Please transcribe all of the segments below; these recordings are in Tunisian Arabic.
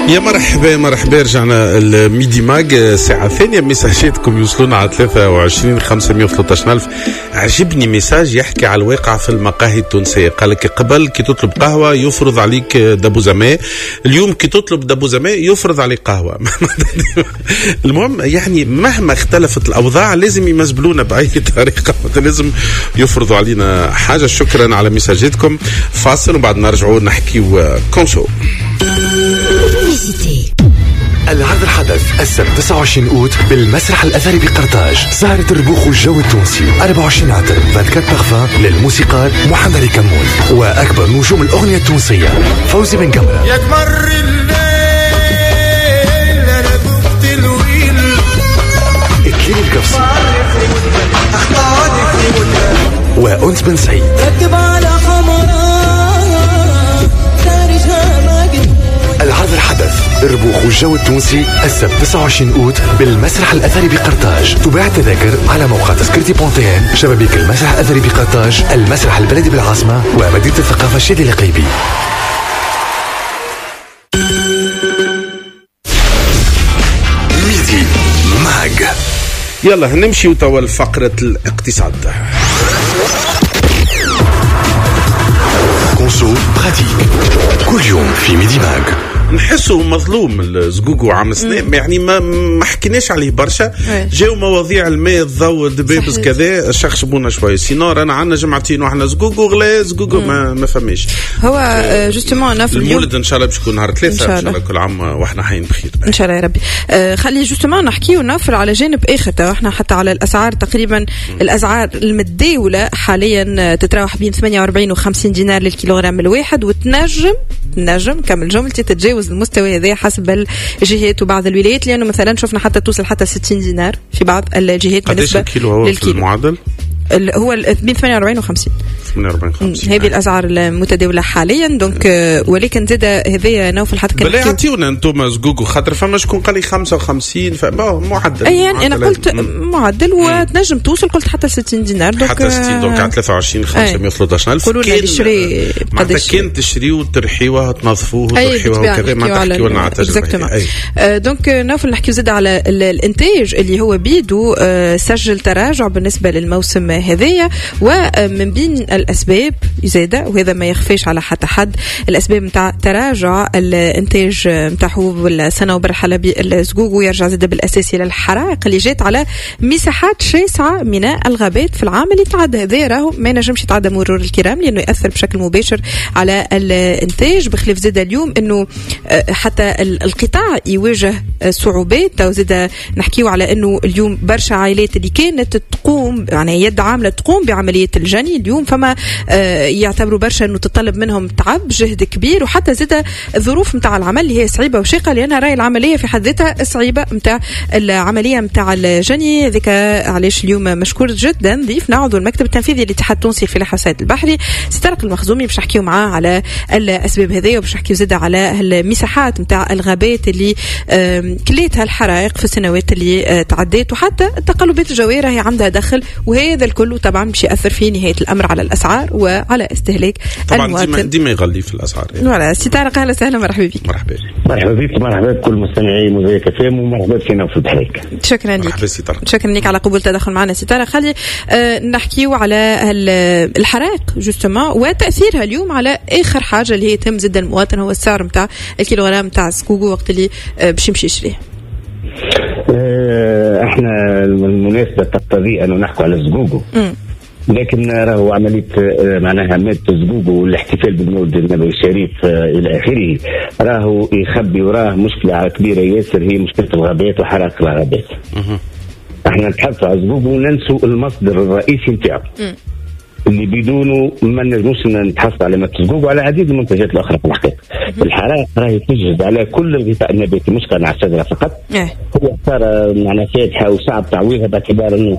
يا مرحبا مرحبا، رجعنا ال Midi Mag الساعة الثانية. ميساجاتكم يوصلونا على 23 513 ألف. عجبني message يحكي على الواقع في المقاهي التونسية، قال لك قبل كي تطلب قهوة يفرض عليك دبوزة ماء، اليوم كي تطلب دبوزة ماء يفرض عليك قهوة. المهم يعني مهما اختلفت الأوضاع لازم يمزبلونا بأي طريقة، لازم يفرضوا علينا حاجة. شكرا على ميساجاتكم. فاصل وبعد نرجعوا نحكيو conso. العرض الحدث السبت 29 أوت بالمسرح الأثري بقرطاج، سهرة الربوخ والجو التونسي، 24 عطر 24 بارفان للموسيقار محمد كمون وأكبر نجوم الأغنية التونسية فوزي بن قمرة، يا قمر الليل أنا ذقت الويل، إكليل القفصي وأنس بن سعيد. العرض الحدث الربوخ والجو التونسي السبت 29 أوت بالمسرح الأثري بقرطاج. تباع التذاكر على موقع تذكرتي بونتين، شبابيك المسرح الأثري بقرطاج، المسرح البلدي بالعاصمة، ومدينة الثقافة الشادي القيبي. Midi Mag. يلا نمشي توا لفقرة الاقتصاد. conso pratique كل يوم في Midi Mag. نحسه مظلوم الزقوقو عام سنة، يعني ما حكيناش عليه برشا. جاو مواضيع الماء الضوء الدبابز كذا شخشبونا شوي، sinon رانا عندنا جمعتين وحنا زقوقو غلا زقوقو ما فماش. هو justement في المولد ان شاء الله باش يكون نهار 3 ان شاء الله، كل عام واحنا حين بخير ان شاء الله يا ربي. خلي justement نحكيو نفر على جانب اخر، تو احنا حتى على الاسعار تقريبا الاسعار المتداولة حاليا تتراوح بين 48 و 50 دينار للكيلوغرام الواحد، وتنجم كمل جملتي تتجاوز المستوى هذا حسب الجهات وبعض الولايات، لانه مثلا شفنا حتى توصل حتى 60 دينار في بعض الجهات. بالنسبة للكيلو المعدل هو بين 48 و 50. 48 50 هذه الاسعار المتداولة حاليا. donc ولكن زاد هذايا نوفل حتى كان بلا يعطيونا انتم زقوقو، خاطر فما شكون قال لي 55 معدل. اي يعني انا قلت معدل وتنجم توصل، قلت حتى 60 دينار. donc حتى 60 donc على 23 513 الف. قولوا لنا تشري قداش كان تشريو وترحيوها تنظفوه وترحيوها وكذا، ما تحكيوا لنا على التجربة. donc نوفل نحكيو زاد على الانتاج اللي هو بيدو سجل تراجع بالنسبة للموسم هذايا، ومن بين الأسباب زادة وهذا ما يخفيش على حتى حد، الأسباب متاع تراجع الإنتاج متاع حبوب الصنوبر الحلبي الزقوق، ويرجع زادة بالأساس إلى الحرائق اللي جات على مساحات شاسعة من الغابات في العام اللي تعدى. هذا راهو ما نجمش يتعدى مرور الكرام لأنه يأثر بشكل مباشر على الإنتاج. بخلاف زادة اليوم أنه حتى القطاع يواجه صعوبات. زادة نحكيو على أنه اليوم برشا عائلات اللي كانت تقوم يعني يد عاملة تقوم بعملية الجني اليوم فما يعتبروا برشا أنه تطلب منهم تعب جهد كبير، وحتى زادة الظروف متاع العمل اللي هي صعيبة وشاقة، لأنها راي العملية في حد ذاتها صعيبة متاع العملية متاع الجني. ذيك علاش اليوم مشكور جدا ضيفنا عضو المكتب التنفيذي للاتحاد التونسي للفلاحة والصيد البحري سي طارق المخزومي، باش نحكيو معاه على الأسباب هذه، وباش نحكيو زادة على المساحات متاع الغابات اللي كليتها الحرائق في السنوات اللي تعديت، وحتى التقلبات الجوية راهي عندها دخل، وهذا الكل طبعا باش يأثر في نهاية الأمر على الأسعار وعلى استهلاك طبعا المواطن. ديما يغلي في الأسعار يعني. voilà سي طارق أهلا وسهلا، مرحبا بك. مرحبا مرحبا بك، مرحبا بكل مستمعي موزايك اف ام، ومرحبا بك في البحريك. شكرا لك، مرحبا سي طارق. شكرا لك على قبول التدخل معنا سي طارق. خلي نحكيو على الحرائق justement وتأثيرها اليوم على آخر حاجة اللي هي تهم زاد المواطن، هو السعر نتاع الكيلوغرام نتاع السكوكو وقت اللي باش يمشي يشريه. احنا المناسبة تقتضي أنه نحكوا على الزقوقو، لكن راهو عملية معناها مادة الزقوقو والاحتفال بالمولد النبوي الشريف إلى آخره راهو يخبي وراه مشكلة كبيرة ياسر، هي مشكلة الغابات وحرائق الغابات. احنا نتحدثوا على الزقوقو وننسوا المصدر الرئيسي نتاعو اللي بدونه ما نجموش نتحصل على مادة الزقوق وعلى عديد المنتجات الأخرى. في الحقيقة الحرائق راهي تجهز على كل الغطاء النباتي، مش كان على الشجرة فقط. هو صار معنا فاتحة وصعب تعويضها باعتبار أنه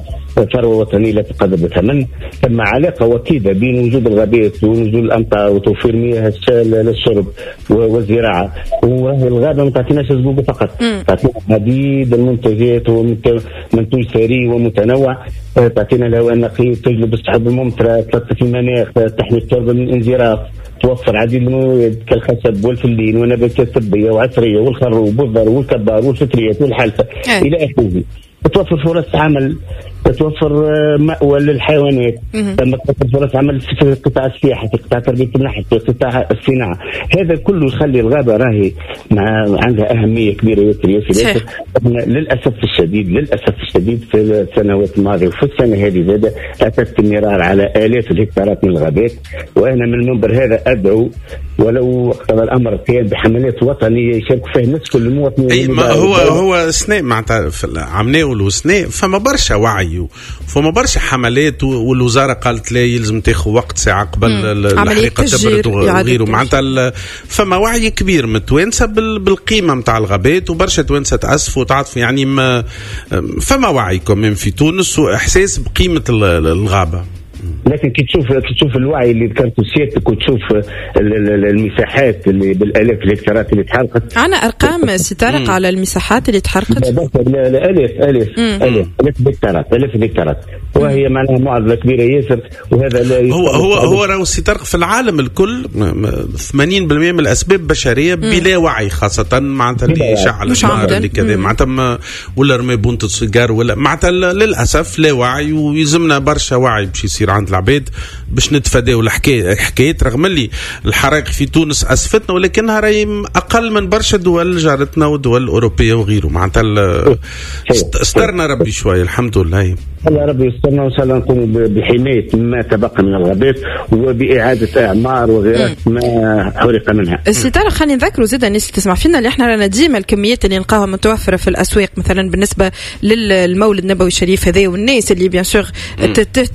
ثروة وطنية لا تقدر بثمن. ثم علاقة وطيدة بين وجود الغابات ونزول الأمطار وتوفير مياه للشرب والزراعة. وهي الغابة ما تعطيناش الزقوق فقط، تعطينا عديد المنتجات ومنتوج ثري ومتنوع، تعطينا الهواء النقي، تجلب السحب الممطرة، تلطف المناخ، تحمي التربة من الانزراف. توفر عديد المواد كالخشب والفلين والنباتات الطبية وعطريه والخروب والذر والكبار والفطريات والحلفه الى اخره. تتوفر فرص عمل، تتوفر مأوى للحيوانات، تتوفر فرص عمل في قطاع السياحة، في قطاع تربية النحل، في قطاع الصناعة. هذا كله يخلي الغابة راهي عندها أهمية كبيرة ياسر ياسر ياسر. للأسف الشديد، للأسف الشديد في السنوات الماضية وفي السنة هذه زادة أتت النيران على آلاف الهكتارات من الغابات. وأنا من المنبر هذا أدعو ولو اقتضى الأمر القيام بحملات وطنية يشاركوا فيها الناس كل المواطنين. أي ما هو سنة معناتها عمناول وسنة فما برشا وعي فما برشا حملات، والوزارة قالت لا يلزم تاخذ وقت ساعة قبل الحريقه تبرد وغيره. معناتها فما وعي كبير من التوانسة بالقيمة نتاع الغابات، وبرشا توانسة تاسفوا وتعاطفوا، يعني ما فما وعي كمان في تونس واحساس بقيمة الغابة. لكن كي تشوف الوعي اللي ذكرته سيادتك وتشوف المساحات اللي بالالاف الهكتارات اللي تحرقت. عندنا ارقام سي طارق على المساحات اللي تحرقت؟ لا الاف الاف الاف الاف الهكتارات، الاف الهكتارات، وهي معناها معضلة كبيرة ياسر. وهذا لا هو راهو سي طارق في العالم الكل 80% من الاسباب بشرية بلا وعي، خاصة معناتها اللي شعل النار اللي كذا معناتها ولا رمي بونت سيجار ولا معناتها للاسف لا وعي، ويلزمنا برشا وعي باش يصير عند العباد باش نتفاداو الحكاية. رغم اللي الحرائق في تونس اسفتنا، ولكنها راهي اقل من برشا دول جارتنا ودول الاوروبية وغيره. معناتها استرنا ربي شوية الحمد لله. الله ربي يسترنا، وان شاء الله نقوم بحمايه ما تبقى من الغابات وباعاده اعمار وغيرها ما حرق منها. سي طارق خلينا نذكروا زيد الناس اللي تسمع فينا اللي احنا رانا ديما الكميات اللي نلقاها متوفرة في الاسواق مثلا بالنسبة للمولد النبوي الشريف هذا، والناس اللي bien sûr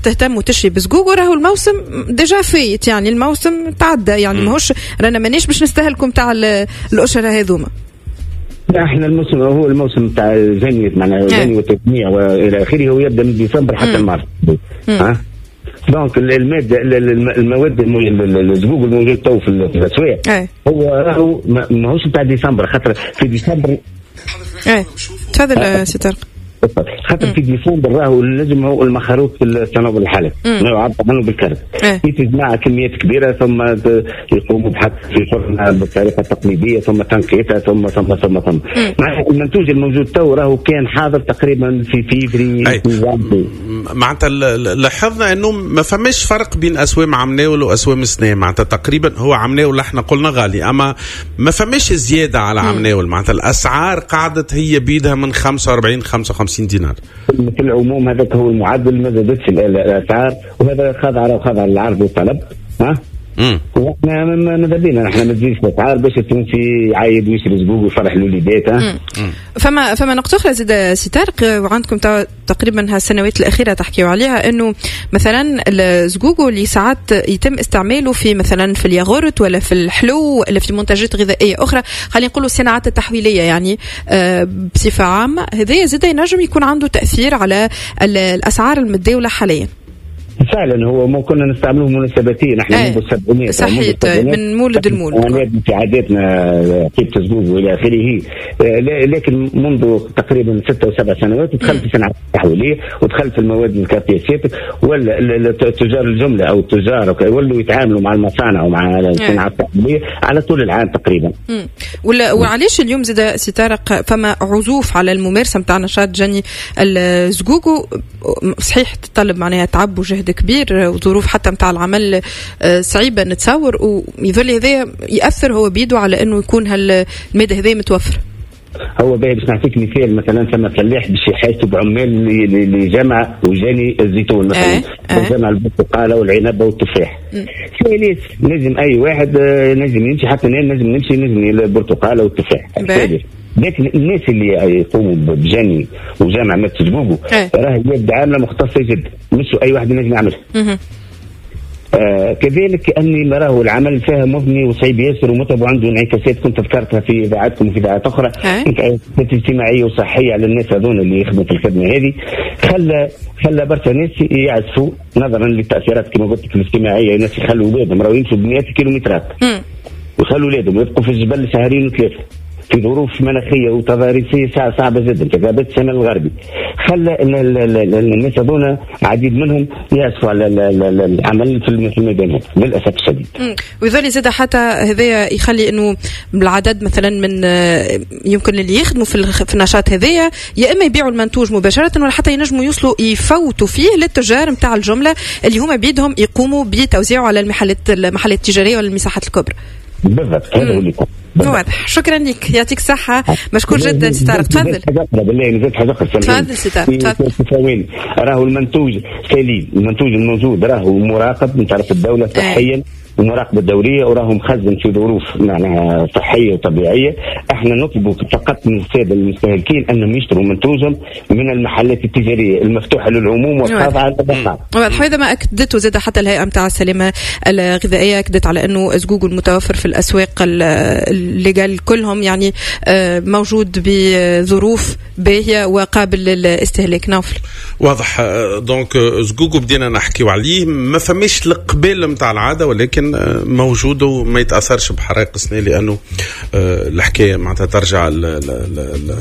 تهتم وتشري بزقوق، راهو الموسم déjà فايت، يعني الموسم تعدى، يعني ماهوش رانا مانيش باش نستهلكم تاع الاشهر هذوما. لا احنا الموسم هو الموسم تاع الجني، معناها الجني والتجميع والى اخره، هو يبدا من ديسمبر حتى المارس. ها donc المادة المواد الزقوق الموجود تو في الاسواق هو راهو ماهوش تاع ديسمبر، خاطر في ديسمبر. تفضل سي طارق. خاطر في ديسمبر راهو لازم هو المخروط في التناول الحالي يعبر عنه بالكرت، يتجمع كميات كبيرة ثم يقوموا بحط في فرنها بالطريقة التقليدية ثم تنقيتها ثم ثم ثم ثم. مع المنتوج الموجود تو راهو كان حاضر تقريبا في فيفري. معناتها لاحظنا انه ما فماش فرق بين اسوام عمناول واسوام السنة، معناتها تقريبا هو عمناول احنا قلنا غالي، اما ما فماش زيادة على عمناول، معناتها الاسعار قعدت هي بيدها من 45 55 دينار في العموم. هذاك هو المعدل، ما زادتش الاسعار، وهذا خاضع للعرض والطلب. ها واحنا ماذا بينا نحن ما تزيدش الاسعار باش التونسي يعايد ويشري زقوق ويفرح الوليدات. فما نقطة اخرى زاد سي طارق، وعندكم تقريبا هالسنوات الاخيرة تحكيوا عليها، انه مثلا الزقوق اللي ساعات يتم استعماله في مثلا في الياغورت ولا في الحلو ولا في منتجات غذائية اخرى، خلينا نقولوا الصناعات التحويليه يعني بصفة عامة، هذا زاد ينجم يكون عنده تاثير على الاسعار المتداولة حاليا. فعلا هو ما كنا نستعملوه مناسبتين احنا منذ السبعينات. صحيح، من مولد المولد في عاداتنا كيف تزوج والى اخره، لكن منذ تقريبا 6 أو 7 سنوات دخلت في الصناعة التحويليه ودخلت في المواد الكافياسات، ولا تجار الجملة او التجار ولوا يتعاملوا مع المصانع ومع الصناعة التحويليه على طول العام تقريبا. وعلاش اليوم زاد سي طارق فما عزوف على الممارسة نتاع نشاط جني الزقوقو؟ صحيح تطلب معناها تعب وجهد كبير وظروف حتى متاع العمل صعيبة نتصور، ويظل هذا يأثر هو بيده على أنه يكون هالمادة هذه متوفرة. هو باهي باش نعطيك مثال، مثلا ثم فلاح باش يحاسب بعمال لجمع وجاني الزيتون مثلا، وجمع البرتقاله والعنب والتفاح. ثالث لازم اي واحد نجم يمشي، حتى نجم نمشي نجم البرتقاله والتفاح. لكن الناس اللي يقوموا بجني وجمع ما تسبوبه راه يد عامله مختصة جدا، مش اي واحد ينجم يعملها. كذلك اني راه العمل فيها مبني وصعيب ياسر ومتعب وعنده انعكاسات كنت ذكرتها في اذاعاتكم وفي اذاعات اخرى، انعكاسات اجتماعية وصحية على الناس هذون اللي يخدموا في الخدمة هذه، خلى برشا ناس يعزفوا نظرا للتاثيرات كما قلت لك الاجتماعية. الناس يخلوا اولادهم راهو يمشوا بمئات الكيلومترات ويخلوا اولادهم يبقوا في الجبل شهرين وثلاثة. في ظروف مناخيه وتضاريسيه صعبة جدا في غابات الشمال الغربي، خلى ان الناس هذونا عديد منهم يأسفوا على العمل في الميدان هذا للاسف الشديد. ويظل زاد حتى هذايا يخلي انه العدد مثلا من يمكن اللي يخدموا في النشاط هذايا يا اما يبيعوا المنتوج مباشرة ولا حتى ينجموا يوصلوا يفوتوا فيه للتجار نتاع الجملة اللي هما بيدهم يقوموا بتوزيعه على المحلات التجارية ولا المساحات الكبرى. بالضبط هذا هو اللي يكون. واضح، شكرا لك، يعطيك الصحة، مشكور جدا سي طارق. تفضل. بالله نزيد حاجة أخرى. تفضل سي طارق. تفضل. راهو المنتوج سليم، المنتوج الموجود راهو مراقب من طرف الدولة صحيا ومراقبة دولية، وراهو مخزن في ظروف معناها صحية وطبيعية. احنا نطلب فقط من السادة المستهلكين انهم يشتروا منتوجهم من المحلات التجارية المفتوحة للعموم والخاضعة للرقابة. واضح، وهذا ما اكدته زاد حتى الهيئة نتاع السلامة الغذائية، اكدت على انه زقوق المتوفر في الاسواق ال légales كلهم يعني موجود بظروف باهية وقابل للاستهلاك. نوفل. واضح، donc زقوق بدينا نحكيو عليه، ما فماش القبال نتاع العادة ولكن موجود وما يتاثرش بحرائق السنة لانه الحكاية معناتها ترجع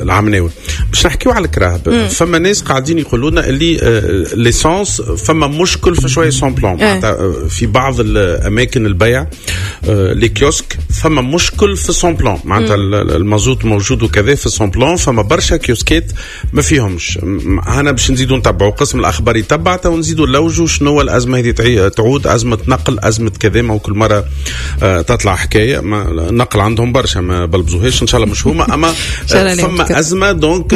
العام ناوي. باش نحكيو على الكراهب، فما ناس قاعدين يقولوا لنا اللي l'essence فما مشكل في شوية sans plomb، معناتها في بعض الاماكن البيع les kiosques فما مشكل في sans plomb، معناتها المازوت موجود وكذا في sans plomb، فما برشا كيوسكات ما فيهمش. انا باش نزيدوا نتبعوا قسم الاخبار يتبع ونزيدوا نلوجوا شنو الازمة هذه، تعود ازمة نقل، ازمة كذا، ما كل مرة تطلع حكاية. ما النقل عندهم برشا ما بلبزوهاش ان شاء الله مش هما، اما فما ازمة donc،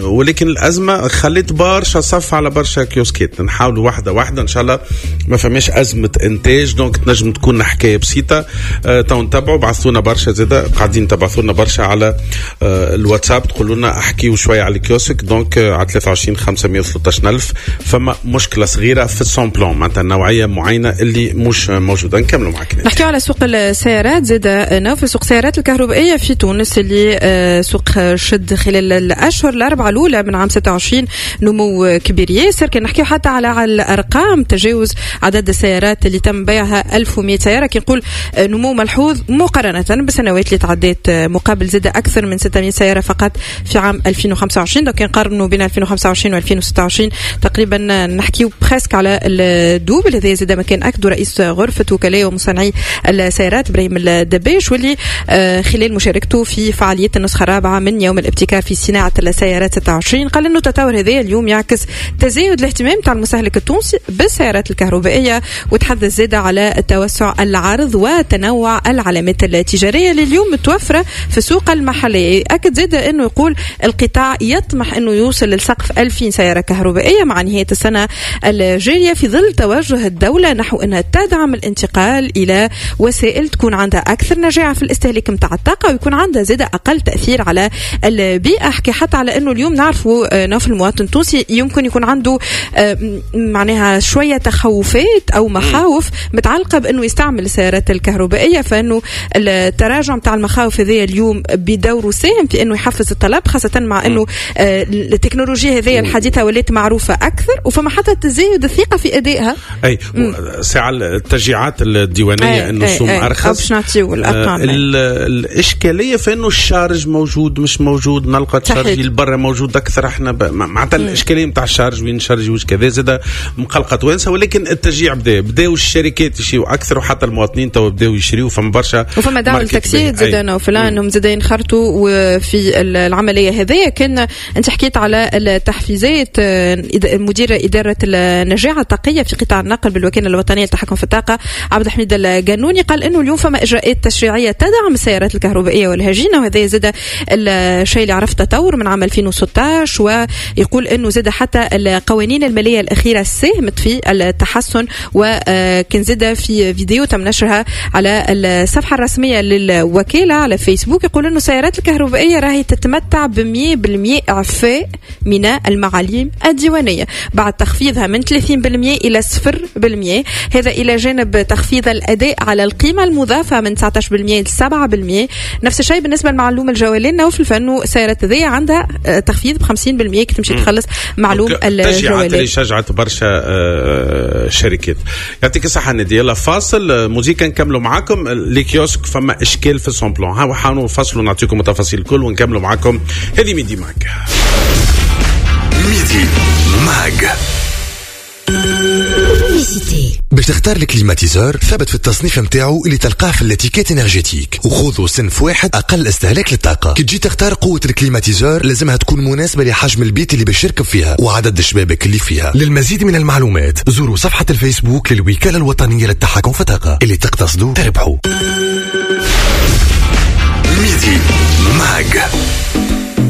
ولكن الازمة خلت برشا صف على برشا كيوسكات. نحاولوا واحدة واحدة ان شاء الله ما فماش ازمة انتاج، donc تنجم تكون حكاية بسيطة. تو نتبعوا، بعثونا برشا زاده، قاعدين تبعثوا لنا برشا على الواتساب تقولوا لنا احكيوا شوية على ال kiosque. donc على 23 513 ألف فما مشكلة صغيرة في ال sans plomb، معناتها نوعية معينة اللي مش موجودة. نكملوا معك. نحكيو على سوق السيارات زاد نوفل، سوق السيارات الكهربائية في تونس اللي سوق شد خلال الاشهر الاربعة الاولى من عام 26 نمو كبير ياسر. كان نحكيو حتى على الارقام، تجاوز عدد السيارات اللي تم بيعها 1100 سيارة، كي نقول نمو ملحوظ مقارنة بالسنوات اللي تعديت، مقابل زاد اكثر من 600 سيارة فقط في عام 2025. donc نقارنوا بين 2025 و 2026 تقريبا نحكيو presque على ال double. هذا زاد ما كان اكدوا رئيس غرفة وكلاء ومصنعي السيارات ابراهيم الدباش، واللي خلال مشاركته في فعالية النسخة الرابعة من يوم الابتكار في صناعة السيارات 26 قال انه التطور هذا اليوم يعكس تزايد الاهتمام تاع المستهلك التونسي بالسيارات الكهربائية، وتحدث زاد على توسع العرض وتنوع العلامات التجارية اللي اليوم متوفرة في السوق المحلية. اكد زاد انه يقول القطاع يطمح انه يوصل لسقف 2000 سيارة كهربائية مع نهاية السنة الجارية، في ظل توجه الدولة نحو انها تدعم الانتقال الى وسائل تكون عندها اكثر نجاعه في الاستهلاك نتاع الطاقة ويكون عندها زاد اقل تاثير على البيئة. احكي حتى على انه اليوم نعرفوا نوف المواطن التونسي يمكن يكون عنده معناها شوية تخوفات او مخاوف متعلقه بانه يستعمل السيارات الكهربائية، فانه التراجع نتاع المخاوف هذه اليوم بدوره ساهم في انه يحفز الطلب، خاصة مع انه التكنولوجيا هذه الحديثة ولات معروفة اكثر وفما حتى تزايد الثقة في ادائها. اي ساعة التشجيعات الديوانيه انه السوم ارخص باش نعطيو الارقام. الاشكالية في انه ال charge موجود مش موجود، نلقى ال charge البرا موجود اكثر، احنا معناتها الاشكالية نتاع ال charge وين نشارجي وش كذا زاد مقلقة توانسة، ولكن التشجيع بداو الشركات يشريوا اكثر وحتى المواطنين تو بداو يشريوا، فما برشا وفما دعم التاكسيات زاد وفلان انهم زاد ينخرطوا في العملية هذيا. كان انت حكيت على التحفيزات، مدير ادارة النجاعه الطاقية في قطاع النقل بالوكالة الوطنية للتحكم في الطاقة عبد الحميد القانوني قال انه اليوم فما اجراءات تشريعية تدعم السيارات الكهربائية والهجينه، وهذا زاد الشيء اللي عرف تطور من عام 2016، ويقول انه زاد حتى القوانين المالية الاخيرة ساهمت في التحسن. وكان زاد في فيديو تم نشرها على الصفحة الرسمية للوكاله على فيسبوك يقول انه السيارات الكهربائية راهي تتمتع ب 100% اعفاء من المعاليم الديوانيه بعد تخفيضها من 30% الى 0%، هذا الى جانب جانب تخفيض الاداء على القيمة المضافة من 19% ل 7%. نفس الشيء بالنسبة لمعلوم الجولان نوفل، فانه السيارات هذه عندها تخفيض ب 50% كي تمشي تخلص معلوم الجولان. اللي شجعت برشا شركات. يعطيك الصحة نادية. يلا فاصل موزيكا نكملوا معاكم. les kiosques فما اشكال في ال sans plomb، ها حانوا فاصلوا نعطيكم التفاصيل الكل ونكملوا معاكم. هذه Midi Mag. Midi Mag. باش تختار ال climatiseur ثبت في التصنيف نتاعو اللي تلقاه في l'étiquette énergétique، وخذوا صنف واحد اقل استهلاك للطاقة. كي تجي تختار قوة ال climatiseur لازمها تكون مناسبة لحجم البيت اللي باش يركب فيها وعدد الشبابك اللي فيها. للمزيد من المعلومات زوروا صفحة الفيسبوك للوكاله الوطنية للتحكم في الطاقة. اللي تقتصدوا تربحوا.